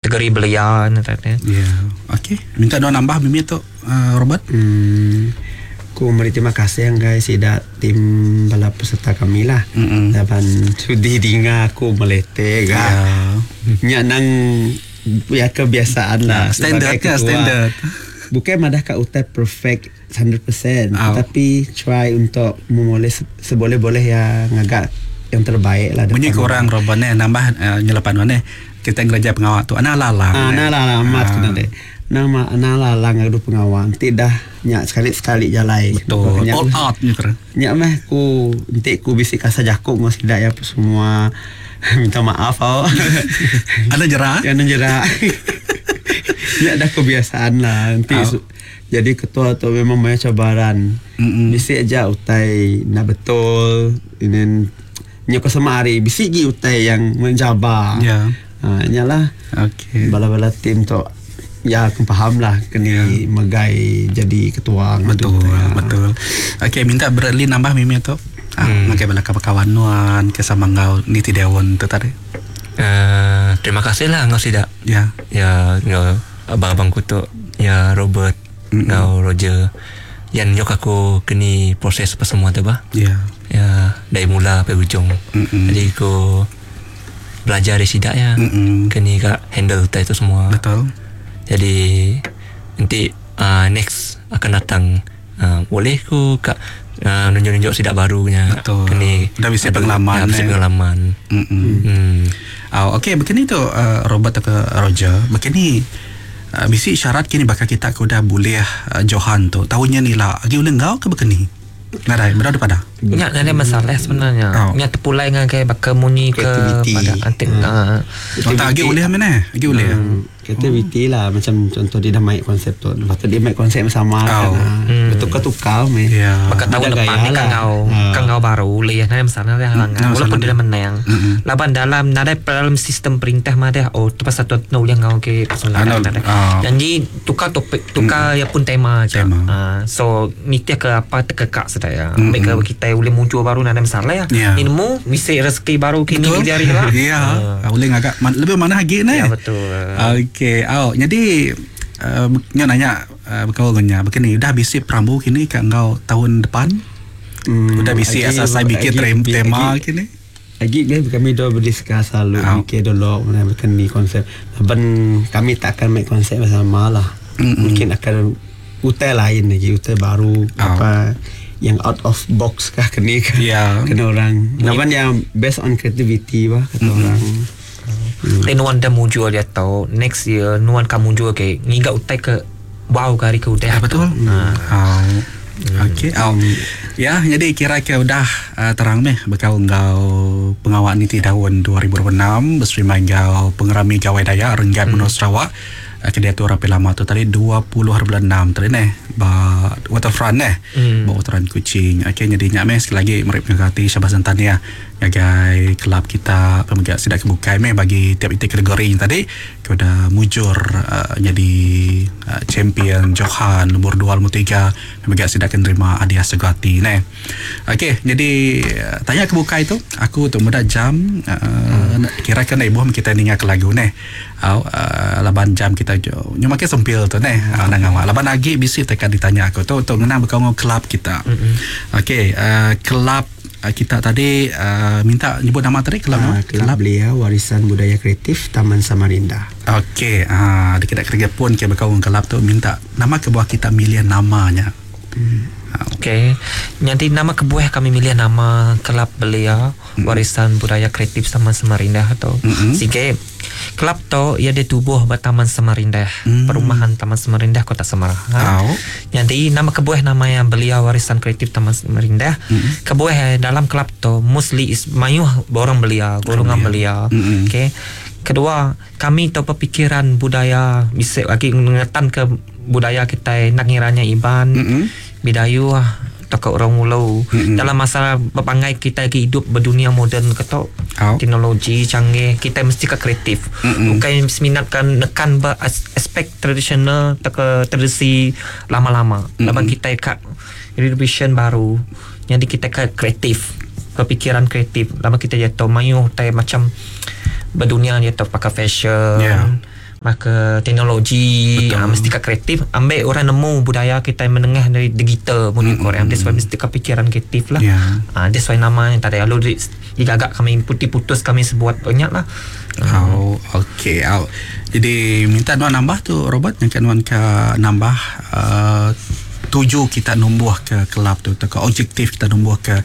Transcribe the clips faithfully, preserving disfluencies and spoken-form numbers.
Kategori belia nya tadi. Ya. Okey. Minta dua nambah mimi tu, uh, Robert. Hmm, ku meri terima kasih guys sida tim bala peserta kami lah. Mm-mm. Laban sudi dinga aku melete ga. Ya. Nya nang ya kebiasaan lah. Ya, standard sebagai ke, ketua. Standard. Bukan madah ka utai perfect seratus peratus Oh. tapi try untuk memoleh se- seboleh-boleh ya, ngagak yang terbaik lah Bunyi depan. kurang Robert ni nambah uh, nyelepan ni kita ngereja pengawal tu ana lalang. Ah, nah lah lah amat Ah. kena deh. Nama ana lalang ngadu pengawal. Nanti dah nyak sekali-sekali jalai. Betul. Nyak, All out ni kira. nyak meh ku nanti ku bisik kasar jakuk ngau sidak ya apa semua. Minta maaf oh. Ada jerah? Ya, nang jerak. Nyak dah kebiasaan lah. Nanti Oh. su- jadi ketua tu memang banyak cabaran. Mm-mm. Bisik aja utai nak betul. Ini nyak sama hari bisik gi utai yang mencabar. Ya. Ha, nyalah Okey. bala-bala tim tu ya aku faham lah kena yeah. megai jadi ketua ngadu Betul, tu, ya. betul. Okey, minta Bradley nambah mimi tu. Ah, hmm. Ngakai bala kawan nuan ke sama ngau niti dewan tu tadi. Uh, terima kasih lah ngau sidak. Ya. Ya, ngau abang-abang ku tu ya, Robert, Mm-mm. ngau Roger yang nyok aku kini proses apa semua tu bah. Ya. Ya, dari mula sampai ujung. Mm-mm. Jadi aku belajar dari sidak ya. Mm-mm. Kini kak handle utai tu semua. Betul. Jadi nanti uh, next akan datang uh, boleh ku kak uh, nunjuk-nunjuk sidak barunya. Betul. Kini Dah bisi adu- pengalaman, Ya, bisi eh. pengalaman. Mm-mm. Hmm. Oh, okey, begini tu uh, Robert atau ke Roger, begini uh, bisi syarat kini bakal kita ke udah boleh uh, Johan tu. Tahunnya ni lah. Agi ulih ngau ke begini? Nadai, berada pada. Nya ada masalah sebenarnya. Oh. Nya terpulai dengan kayak bakal munyi ke Kreativiti. pada antik. Hmm. Ah. Oh, tak agi ulih mana? Agi ulih. Hmm, kreativiti lah, macam contoh dia dah main konsep tu, lepas tu dia main konsep yang sama Oh. kan, ah. Bertukar-tukar meh. Ya. Maka tahun Ada depan gaya ni kan lah. ngau Ah. kan ngau baru boleh nada masalah dia halangan. Hmm, Walaupun masalah. dia menang. Mm-mm. Laban dalam nada dalam sistem perintah mah dia oh tu pasal tu no yang ngau ke pasal Ah, nada no, nada. ah. Janji tukar topik, tukar ya pun tema aja. Tema. Ah, so nitia ke apa terkekak sedaya. Mm-mm. Mereka kita boleh muncul baru nada masalah ya. Ya. Ilmu misi rezeki baru kini Betul. hari lah. Ya, Ah. boleh ngagak man, lebih mana lagi ni? Ya, betul. Okey, oh, jadi uh, nyo nanya uh, bekal nya begini, dah bisi perambu kini ke engkau tahun depan? Hmm, Udah bisi lagi- asal saya bikin lagi- trem- tema lagi- kini. Lagi kan kami dah berdiskus selalu Oh. mikir dulu mana bukan ni konsep. Laban kami tak akan main konsep bersama lah. Mm-mm. Mungkin akan utai lain lagi, utai baru Oh. apa yang out of box kah kena kah. Ya. Kena orang. Laban yang based on creativity bah kata orang. Hmm. Nuan dah muncul dia tahu next year nuan kamu muncul ke ngiga utai ke wow ke hari ke udah. Ya, betul. Ha. Oh. Okey, oh. Ya, jadi kira-kira udah uh, terang meh bekal engkau pengawal niti tahun dua ribu dua puluh enam berserima engkau pengerami Gawai Dayak Renggat hmm. Menua Sarawak uh, ke dia tu rapi lama tu tadi dua puluh hari bulan enam tadi neh ba waterfront neh, Hmm. ba waterfront Kuching. Okey, jadi nyak meh sekali lagi mereka mengkati syabas dan tahniah ngagai kelab kita pemegang sidak kebukai meh bagi tiap itik kategori yang tadi ke udah mujur uh, jadi uh, champion Johan nombor dua, nombor tiga pemegang sidak akan terima hadiah segati neh. Okey, jadi uh, tanya kebukai tu aku tu muda jam uh, hmm. kira kan ibu kita ninga ke lagu neh. Au uh, laban jam kita jo nyo makin sempil tu neh uh, nang awak laban lagi bisi tekan ditanya aku tu untuk ngenang bekau ngau kelab kita. Okey, uh, kelab uh, kita tadi uh, minta nyebut nama tadi kelab Ah, nama? Kelab Belia Warisan Budaya Kreatif Taman Samarinda. Okey, ah uh, kita kerja pun ke bekau ngau kelab tu minta nama ke bawah kita milih namanya. Hmm. Okey. Nanti nama kebuah kami milih nama Kelab Belia Warisan Budaya Kreatif Taman Samarinda atau Mm-mm. Sige. Kelab tu ia ditubuh ba Taman Samarinda, Mm. perumahan Taman Samarinda, Kota Samarahan. Au. Jadi nama kebuah nama yang Belia Warisan Kreatif Taman Samarinda. Mm-mm. Kebuah eh, dalam kelab tu mostly is mayuh borang belia, golongan belia. Mm-mm. Okey. Kedua, kami tahu pemikiran budaya bisa lagi mengetan ke budaya kita nak ngiranya Iban, Mm-mm. Bidayu ah, atau ke orang Ulu. Mm-mm. Dalam masa berpangai kita lagi hidup berdunia moden ketok Au. teknologi canggih, kita mesti ke kreatif. Mm-mm. Bukan seminatkan nekan ber as- aspek tradisional atau ke tradisi lama-lama. Mm-mm. Laban kita kat revision baru. Jadi kita ke kreatif, berpikiran kreatif. Lama kita jatuh mayuh tai macam berdunia jatuh pakai fashion. Yeah. Maka teknologi uh, mesti ka kreatif ambil orang nemu budaya kita menengah dari digital mun mm-hmm. Korea that's why mesti ka pikiran kreatif lah. Yeah. Ah uh, that's why nama yang tadi lalu digagak kami putih putus kami sebuat banyak lah. Oh, okey. Oh. Jadi minta nuan nambah tu Robert yang kan nuan ke nambah uh, tuju kita numbuh ke kelab tu atau ke objektif kita numbuh ke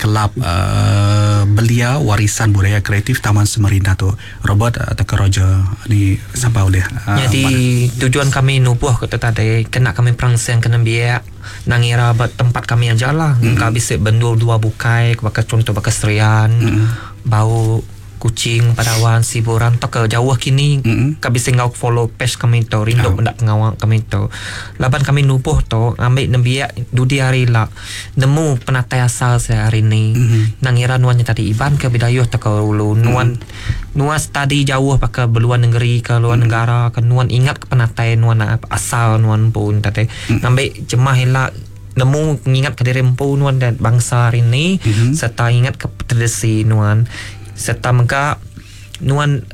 kelab uh, belia warisan budaya kreatif Taman Samarinda tu Robert atau ke Roger ni siapa boleh uh, Jadi mana? Tujuan kami nubuh ke tadi kena kami perangsang kena biak nangira tempat kami aja lah mm-hmm. Kami bisa bendul dua bukai bakal contoh bakal Serian mm-hmm. Bau Kucing, Padawan, Siburan atau ke jauh kini mm-hmm. kami bisa ngau follow page kami tu rindu oh. Benda pengawal kami tu laban kami nubuh tu ambil nembiak dudi hari lah nemu penatai asal saya hari ni mm-hmm. Nangira nuannya tadi Iban ke Bidayuh atau ke Ulu nuan mm-hmm. Nuan study jauh pakai beluan negeri ke luar mm-hmm. negara ke nuan ingat ke penatai nuan asal nuan pun tadi mm-hmm. Ambil jemah elak nemu ingat ke diri empu nuan dan bangsa hari ni mm-hmm. Serta ingat ke tradisi nuan serta mega nuan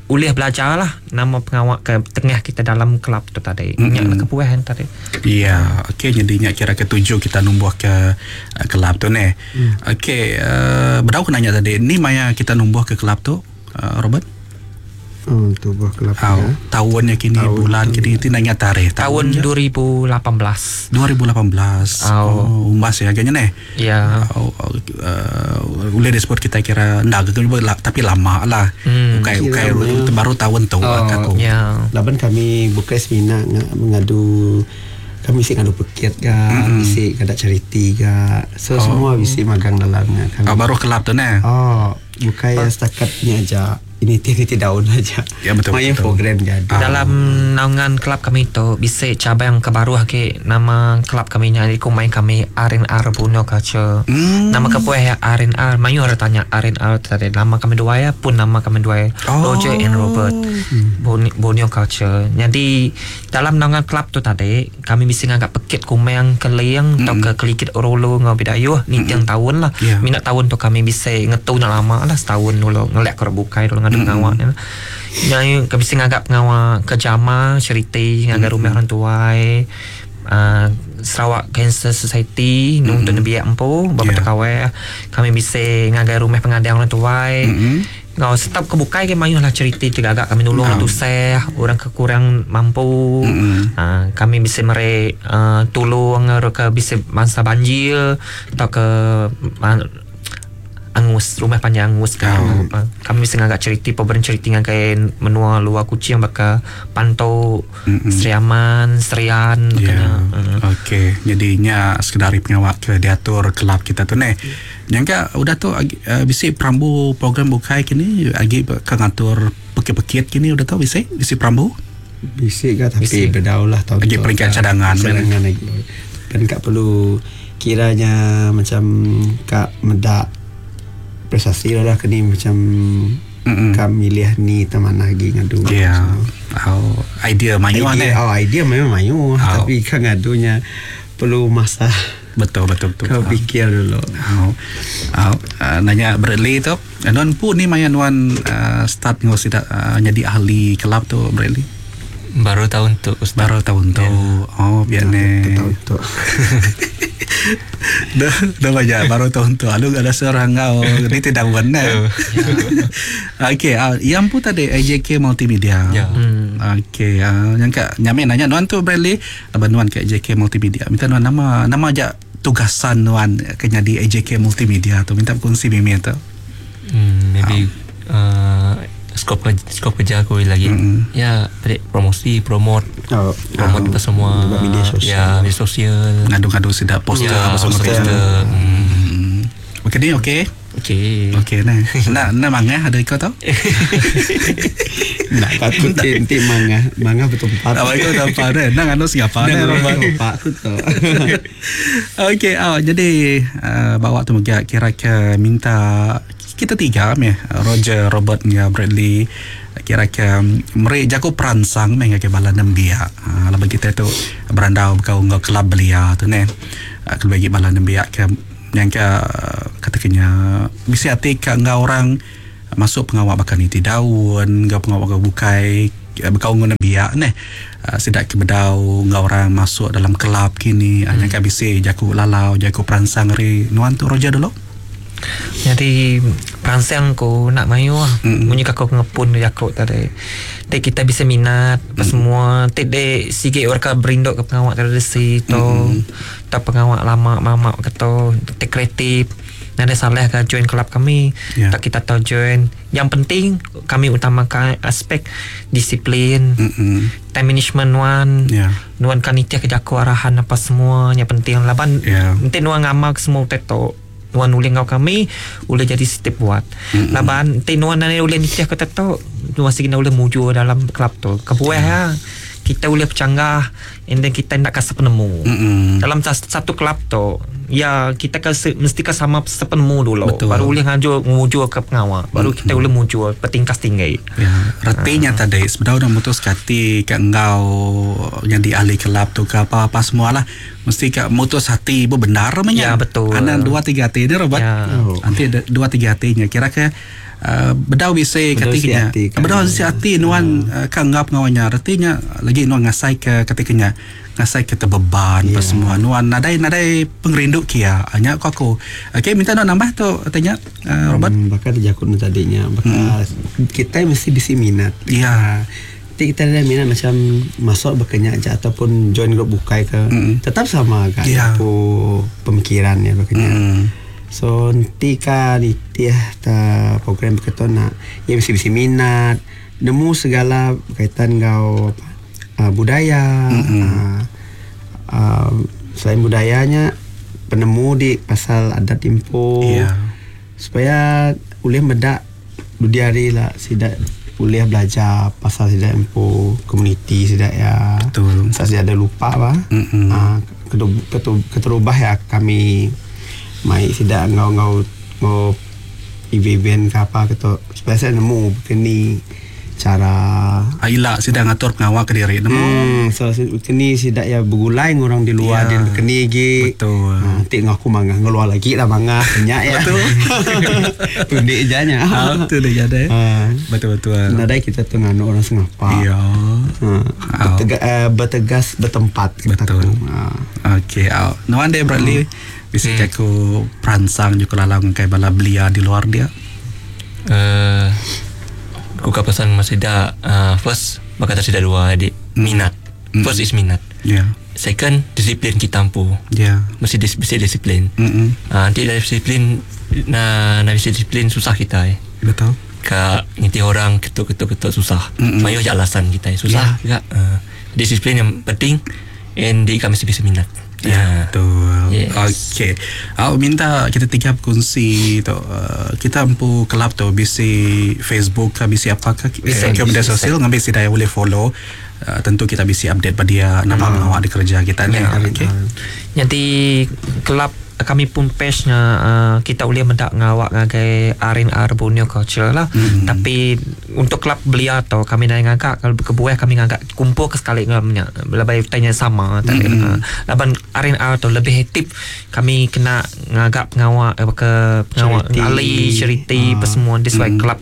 ulih belajar lah nama pengawak ke tengah kita dalam kelab tu tadi. Mm-hmm. Nyak nak kepuahan tadi. Ya, okey jadi nyak kira ketujuh kita numbuh ke uh, kelab tu ni. Mm. Okey, uh, berau nanya tadi ni maya kita numbuh ke kelab tu uh, Robert? Oh, tubuh kelab oh, ya. Tahunnya kini tahun, bulan kini itu nanya tarikh tahun dua ribu lapan belas. dua ribu lapan belas. Oh, oh umbas ya agaknya nih. Ya. Oh, oh, uh, boleh disebut kita kira ndak gitu tapi lama lah. Hmm. Ukai ukai baru tahun tu oh, aku. Ya. Laban kami bukan semina mengadu kami isi ngadu pekit ga, mm-hmm. isi kada charity ga. So oh. Semua isi magang dalamnya kami. Oh, baru kelab tu nah. Oh, bukan ya setakatnya aja. Ini titi daun aja. Ya betul. Main program jadi. Ah. Dalam naungan kelab kami tu bisa cabang ke baru ke nama kelab kami nya iku main kami R and R Borneo Culture. Hmm. Nama kepueh ya R and R. Mayu orang tanya R and R tadi nama kami dua ya pun nama kami dua ya. Oh. Roger and Robert. Hmm. Borneo Culture. Jadi dalam naungan kelab tu tadi kami bisa nganggap pekit kumeng keliang hmm. Atau ke kelikit orolo ngau bidayuh ni tiang hmm. tahun lah. Yeah. Minat tahun tu kami bisa ngetu nak lama lah setahun dulu ngelak ke bukai dulu ngadu pengawak ni. Yang kami bisa nganggap pengawak ke jama charity ngagar rumah orang tuai uh, Sarawak Cancer Society mm-hmm. Untuk nebiak empu bapa yeah. Tekawe kami bisa ngagar rumah pengadang orang tuai mm-hmm. Ngau setap kebukai ke mayuh lah charity tegagak kami nulung orang tusah orang kekurang mampu mm-hmm. uh, kami bisa mere uh, tolong ke bisa mangsa banjir atau ke uh, angus rumah panjang angus kan oh. Kami bisa ngagak charity program charity ngagai menua luar Kucing bakal Pantau mm-hmm. Seriaman Serian yeah. Mm. Okey jadinya sekedar pengawak ke diatur kelab kita tu ni mm. Yang ka udah tu uh, bisi perambu program bukai kini agi ke ngatur pekit-pekit kini udah tu bisi bisi perambu bisi ka tapi bedaulah tahun lagi peringkat cadangan cadangan lagi dan kak perlu kiranya macam kak medak prestasi lah kini macam mm-hmm. kami milih ni taman lagi ngadu. Ya. Yeah. Oh, idea mayu ni. Oh, idea memang mayu oh. Tapi kan ngadunya perlu masa. Betul betul betul. Kau fikir dulu. Oh. Oh, uh, nanya Bradley tu. Nuan pun ni maya nuan uh, start ngos tidak uh, jadi ahli kelab tu Bradley. Baru tahun tu Ustaz. Baru tahun tu. Yeah. Oh, biar ni. Tahun tu. Dah, dah banyak baru tahun tu. Lalu ada seorang kau ni tidak benar. Okey, uh, yang pun tadi A J K Multimedia. Ya. Hmm. Okey, uh, yang kat nyamin nanya nuan tu Bradley, abang nuan ke A J K Multimedia. Minta nuan nama nama aja tugasan nuan ke jadi A J K Multimedia tu. Minta kongsi mimi tu. Hmm, maybe um. uh, skop skop kerja aku lagi. Mm-hmm. Ya, tadi promosi, promote. Oh, promote apa semua. Media sosial. Ya, media sosial. Ngadu-ngadu sedap poster ya, apa semua. Poster. Hmm. Okey ni okey. Okey. Okey nah. Nak nak mangah ada kau tahu? Nak takut nanti mangah, mangah bertempat. Apa kau tempat eh? Nak anu Singapura ni. Pak aku tahu. Okey, oh, jadi uh, bawa tu mega kira-kira minta kita tiga meh Roger, Robert dengan Bradley kira-kira mereka jago peransang meh ke bala nembiak. Ha laban kita tu berandau kau ngau kelab belia tu ne. Kalau bagi bala nembiak ke yang ke katakannya bisi hati ke ngau orang masuk pengawak bakal ni daun, ngau pengawak ke bukai bekau ngena biak neh. Uh, sidak ke bedau ngau orang masuk dalam kelab kini hmm. Nyangka bisi jaku lalau jaku peransang ri nuan tu Roger dulu. Jadi peransang ku nak mayu lah. Mm. Munyi aku ngepun jaku tadi. Tek kita bisa minat apa mm. semua. Tek de sikit orang ka berinduk ke pengawak tradisi tu. Mm. Tak pengawak lama mamak keto tek kreatif. Nada salah ke join kelab kami. Yeah. Tak kita tahu join. Yang penting kami utamakan aspek disiplin. Mm-mm. Time management nuan. Yeah. Nuan kan nitiah ke jaku arahan apa semua yang penting laban yeah. Nanti nuan ngamal semua tetok. Nuan ulih ngau kami ulih jadi step buat. Mm-hmm. Laban nanti nuan nani ulih nitiah ke tetok nuan sigi ulih muju dalam kelab tu. Kebuah yeah. Kita boleh bercanggah and then kita nak kasih penemu. Mm-hmm. Dalam satu kelab tu ya kita kan mesti kan sama sepenemu dulu. Betul. Baru boleh ngaju nguju ke pengawal. Baru mm-hmm. kita boleh muju petingkas tinggi. Ya, retinya uh. tadi sebenarnya dah mutus hati ke engkau yang di ahli kelab tu ke apa-apa semualah mesti ke mutus hati bu benar namanya. Ya betul. Anak dua tiga hati ni Robert. Ya. Oh. Nanti ada dua tiga hatinya kira ke Uh, bedau bisa ketikanya bedau si hati nuan uh, kan ngap ngawanya artinya lagi nuan ngasai ke ketikanya ngasai ke terbeban yeah. Semua nuan nadai nadai pengerindu kia hanya aku aku okey minta nuan nambah tu tanya uh, Robert hmm, bakal jakun tadinya bakal hmm. Kita mesti bisi minat ya yeah. Kita ada minat macam masuk berkenyak aja ataupun join grup bukai ke mm. tetap sama kan yeah. Aku pemikirannya berkenyak mm. So nanti kan itiah ta program berketon nak ya mesti mesti minat nemu segala berkaitan ngau apa uh, budaya mm-hmm. uh, uh, selain budayanya penemu di pasal adat impo yeah. Supaya boleh medak dudiari lah sidak boleh belajar pasal sidak impo komuniti sidak ya. Betul. Saya ada lupa bah. Mm-hmm. Uh, keterubah ya kami mai sidak ngau-ngau ngau event ke apa gitu supaya saya nemu begini cara Aila sidang ngatur pengawal ke diri nemu hmm, so begini sidak ya bergulai orang di luar ya, dia begini gi betul ha, nanti ngaku mangah ngeluar lagi lah mangah banyak ya betul tundik janya ah tu dia jadi ha. Betul betul nadai kita tu nganu orang sengapa iya ha. Bertega, uh, bertegas bertempat betul ha. Okey au nuan de Bradley hmm. Bisa hmm. jaku peransang juga lalang kayak bala belia di luar dia. Eh, uh, aku kat pesan masih dah uh, first bakal tak dua adik hmm. minat. Hmm. First is minat. Yeah. Second disiplin kita mampu. Yeah. Mesti dis, mesti disiplin. Mm-hmm. Uh, nanti dari disiplin na na mesti disiplin susah kita eh. Betul. Kak nginti orang ketuk-ketuk-ketuk susah. Mm-hmm. Mayo je alasan kita eh. Susah yeah. juga. Uh, disiplin yang penting and di kami mesti bisa minat. Ya, yeah, betul. Yes. Okey. Aku minta kita tiga berkongsi tu. Uh, kita empu kelab tu bisi Facebook ke bisi apa ke Bisi. ke media sosial ngambil si daya boleh follow. Uh, tentu kita bisi update pada dia nama hmm. awak di kerja kita ni. Ya. Okey. Jadi kelab kami pun page-nya uh, kita boleh mendak ngawak ngagai R and R Borneo Culture lah. Mm-hmm. Tapi untuk kelab belia atau kami dah ngagak kalau kebuah kami ngagak kumpul ke sekali ngamnya lebih tanya sama tak Mm-hmm. uh, laban R and R tu lebih aktif kami kena ngagak pengawak eh, ke pengawak Charity. ahli charity Ah. apa semua this why Mm. kelab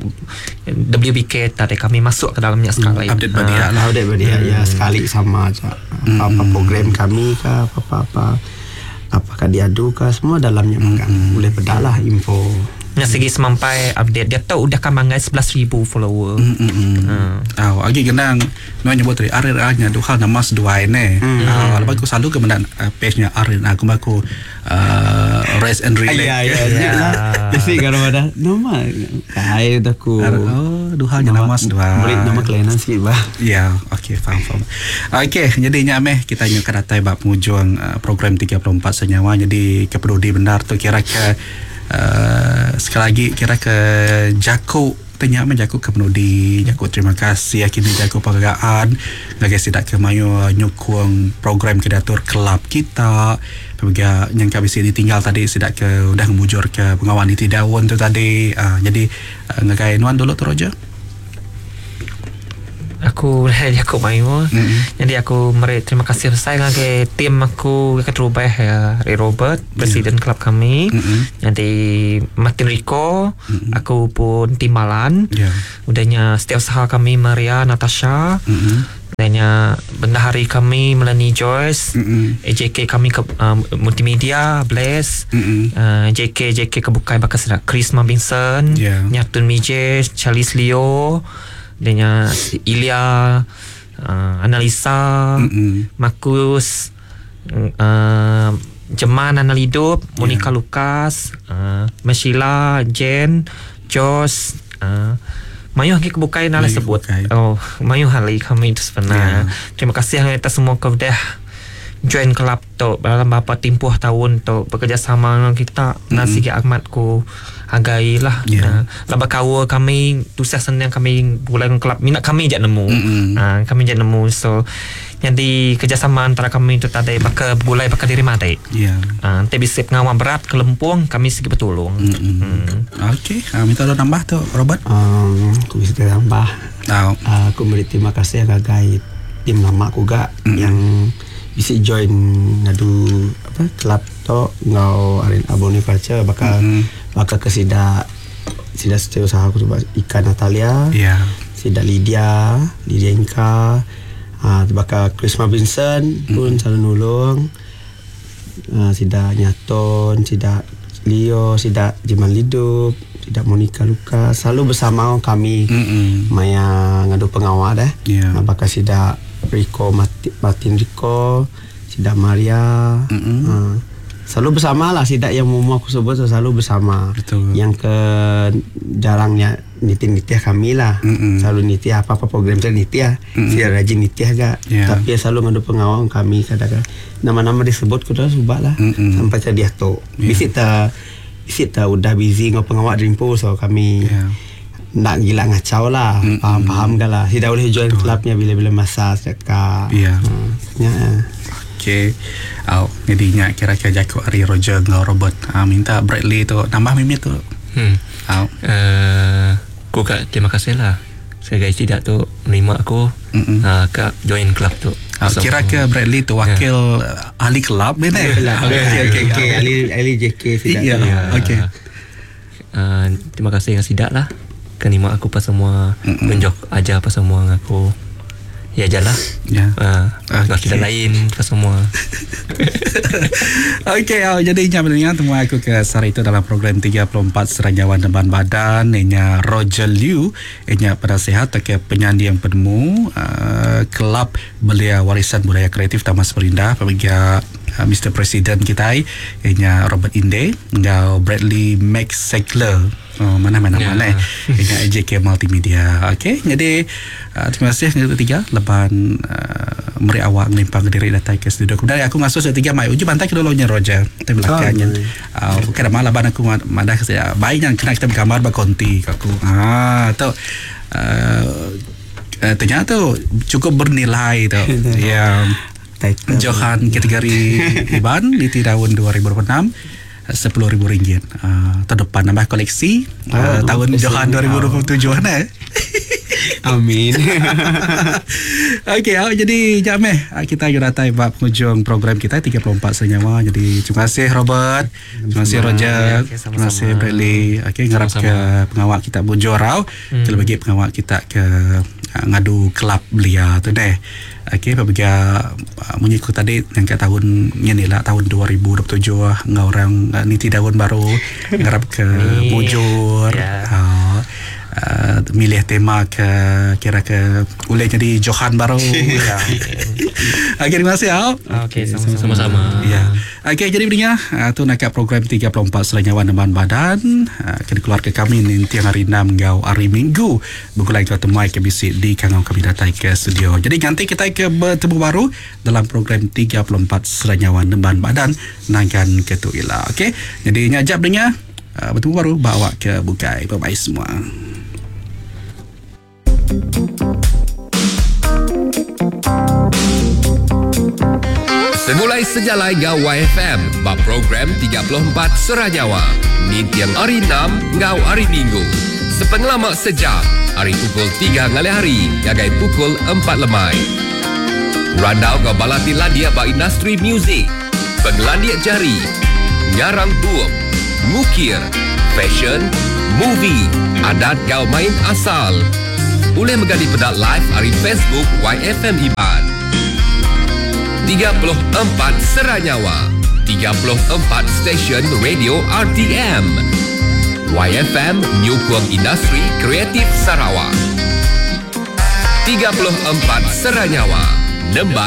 W B K tadi kami masuk ke dalamnya sekali. Mm, update bagi Ah. lah. Update bagi hmm. ya sekali sama aja. Apa-apa program kami ke apa-apa apakah diadu ke semua dalamnya makan. Boleh pedalah info. Yang segi semampai update dia tahu udah kan manggai sebelas ribu follower. Mm, mm, mm. Hmm. Ah, agi genang nuan nyebut tadi R and R nya duha nama seduai ne. Ah, lepas aku selalu ke mendak uh, page-nya R and R aku aku uh, rest and relax. Ya ya ya. Jadi kalau ada nama kai aku. Oh, duha nya nama seduai. Beri nama kelainan sikit bah. Ya, okey, faham faham. Okey, jadi nya meh kita nyu ke datai bab penghujung uh, program tiga puluh empat Senyawa. Jadi keperudi benar tu kira ke uh, sekali lagi kira ke jakuk tanya meh jakuk ke penudi, jakuk terima kasih akhirnya jakuk penghargaan ngagai sidak ke mayu nyukung program kedatur kelab kita. Juga yang kami sini tinggal tadi sidak ke udah ngemujur ke pengawan di Tidaun tu tadi. Uh, jadi uh, ngagai nuan dulu tu Roger. Aku aku mayu. Mm-hmm. Jadi aku meri terima kasih besar ngagai tim aku ke terubah ya, Ray Robert, presiden yeah. kelab kami. Mm-hmm. Jadi Martin Rico, mm-hmm. aku pun timbalan. Yeah. Udahnya setiausaha kami Maria Natasha. Mm-hmm. Udahnya bendahari kami Melanie Joyce, mm-hmm. A J K kami ke uh, multimedia Bless, mm-hmm. uh, J K J K kebukai bakal sedak Chris Mabinson, yeah. Nyatun Mije, Charles Leo, udahnya Ilya, uh, Analisa, mm-hmm. Marcus, uh, Jeman Analidup, Monica yeah. Lucas, uh, Meshila, Jen, Josh, uh, mayuh lagi kebukai nala sebut. Oh, mayuh hali kami itu sebenarnya. Yeah. Terima kasih kita semua ke dah join kelab tu dalam beberapa tempoh tahun tu bekerjasama dengan kita. Mm-hmm. Nasi Ahmad ku hargai lah. Yeah. Uh, laba kawa kami tusah senang kami bulan kelab minat kami je nemu. Mm-hmm. Uh, kami je nemu. So jadi kerjasama antara kami tu tadi bakal gulai bakal diri mati. Ya. Yeah. Uh, nanti bisa pengawal berat kelempung kami segi bertolong. Mm-hmm. Mm. Okey, uh, minta lo nambah tu Robert. Um, aku bisa tambah. Oh. Uh, aku beri terima kasih ngagai tim lama aku gak mm-hmm. yang bisa join ngadu apa kelab tu ngau Arin Aboni Culture bakal mm-hmm. bakal ke sida sida setiausaha aku tu Ika Natalia. Yeah. Sida Lydia, Lydia Inka. Ah, bakal Chris Vincent pun mm. selalu nulung. Ah, sida Nyaton, sida Leo, sida Jiman Lidup, sida Monica Lucas selalu bersama kami. Mm-mm. Maya ngadu pengawal dah. Yeah. Ah, bakal sida Rico Martin, Martin Rico, sida Maria. Ah, selalu bersama lah sida yang mau aku sebut selalu bersama. Betul. Yang ke jarangnya nitih-nitih kami lah. Mm-mm. Selalu nitih apa-apa program saya nitih. Saya rajin nitih agak. Yeah. Tapi selalu ngadu pengawal kami kadang-kadang nama-nama disebut kuda subak lah. Mm-mm. Sampai ke dia tu. Yeah. Bisik ta bisik ta udah busy ngau pengawal dreampo so kami yeah. nak gila ngacau lah. Mm-mm. Faham-faham kan lah. Tidak boleh join clubnya bila-bila masa cakap. Yeah. Hmm. Ya. Okey. Oh, jadi nya kira-kira jaku Ari Roger ngau Robert. Ha, minta Bradley tu nambah mimit tu. Hmm. Oh. Uh, aku kak terima kasih lah. Saya guys tidak tu menerima aku. Uh, kak join club tu. Oh, so, kira ke Bradley tu wakil yeah. ahli kelab ni eh. Okey okey okey ahli ahli J K tidak. Ya. Okey. Uh, terima kasih dengan sidak lah. Kenerima aku pas semua tunjuk ajar apa semua dengan aku. Ya jalah. Ya. Uh, okay. Tidak lain ke semua. Okey, oh, jadi nya pendengar temu aku ke sehari itu dalam program tiga puluh empat Seranjawan Deban Badan inya Roger Liu inya penasehat ke penyanding penemu uh, Kelab Belia Warisan Budaya Kreatif Taman Samarinda pemiga uh, Mister President kita inya Robert Inde ngau Bradley Max Segler. Oh, mana mana yeah. mana dengan A J K Multimedia. Okey, jadi uh, terima kasih yang ketiga leban uh, meri awak ngelimpang ke diri datang ke studio. Kemudian aku ngasuh setiga mai uji bantai ke dulunya Roger. Kita belakangnya. Oh, uh, bukan malah ban aku madah saya baik yang kena kita bergambar berkonti aku. Ah, tu uh, uh, ternyata tu cukup bernilai tu. Ya. Yeah. Johan kategori Iban di tahun dua ribu dua puluh enam sepuluh ribu ringgit. Uh, tahun depan nambah koleksi oh, uh, tahun Johan dua ribu dua puluh tujuh eh. Amin. Okey, oh, jadi jap meh kita datang bab penghujung program kita tiga puluh empat Senyawa. Jadi terima kasih Robert, terima kasih Roger, okay, terima kasih Bradley. Okey, ngarap ke pengawal kita bujur rau. Hmm. Kalau bagi pengawal kita ke uh, ngadu kelab belia tu deh. Okey, apabila uh, mengikut tadi yang kat tahun ni lah tahun dua ribu dua puluh tujuh ngau orang uh, niti daun baru ngarap ke bujur. Yeah. Uh, uh, milih tema ke kira ke boleh jadi Johan baru. Ya. Okey, terima kasih. Okey, sama-sama. Sama-sama. Ya. Okey, jadi pendengar, uh, tu nak program tiga puluh empat Seranyawan Nemban Badan uh, kena keluarga kami nanti hari enam ngau hari Minggu. Bergulai ke temui ke bisik di kangau kami datang ke studio. Jadi nanti kita ke bertemu baru dalam program tiga puluh empat Seranyawan Nemban Badan nangkan ke tu ila. Okey. Jadi ngajak pendengar uh, bertemu baru bawa ke bukai. Bye bye semua. Semulai sejalai ngau Y F M bab program tiga puluh empat Seranyawa. Nintiang hari enam ngau hari Minggu. Sepengelama sejam. Hari pukul tiga ngalih hari ngagai pukul empat lemai. Randau ngau bala ti landik ba industri muzik, pengelandik jari, ngarang bup, ngukir, fashion, movie, adat ngau main asal. Boleh mega dipeda live ari Facebook Y F M Iban. tiga puluh empat Seranyawa, tiga puluh empat stesen radio R T M. Y F M nyukung industri kreatif Sarawak. tiga puluh empat Seranyawa, Nemban.